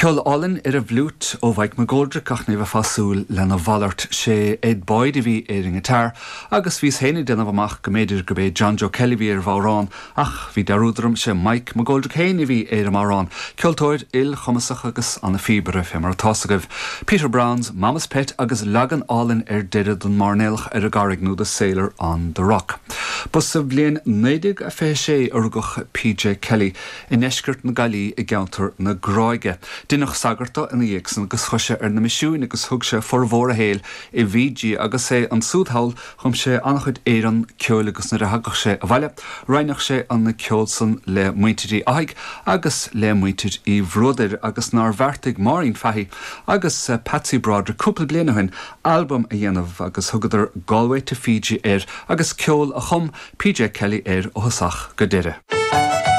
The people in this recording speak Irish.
Ceol álainn ar an bhfliúit ó Mhike McGoldrick ach ní bheifeá ag súil lena mhalairt. Sé Ed Boyd a bhí ar an ngiotár agus bhíos féin ag déanamh amach go mb'fhéidir gurb é John Joe Kelly a bhí ar an bhodhrán ach bhí dearúd orm, sé Mike McGoldrick féin a bhí ar an mbodhrán. Ceoltóir ilchumasach agus ana-phíobaire fé mar atá's agaibh. Peter Brown's Mama's Pet agus leagan álainn ar deireadh den Mairnéalach ar an gCarraig nó The Sailor on the Rock. Ba sa bhliain 1926 a rugadh PJ Kelly. i ndeisceart na Gaillimhe i gceantar na Gráige. Deineadh sagart de ina dhiaidh san agus chuaigh sé ar na misiúin agus thug sé formhór a shaoil i bhFiji agus é ansúd thall chum sé an-chuid amhrán ceoil agus nuair a thagadh sé abhaile roinneadh sé an ceol san le muintir Uí Fhathaigh agus le muintir Uí Bhruadair agus nár bheartaigh Máirín Fahy agus Patsy Broderick cúpla bliain ó shin albam a dhéanamh agus thugadar Galway to Fiji air agus ceol a chum PJ Kelly air ó thosach go deireadh.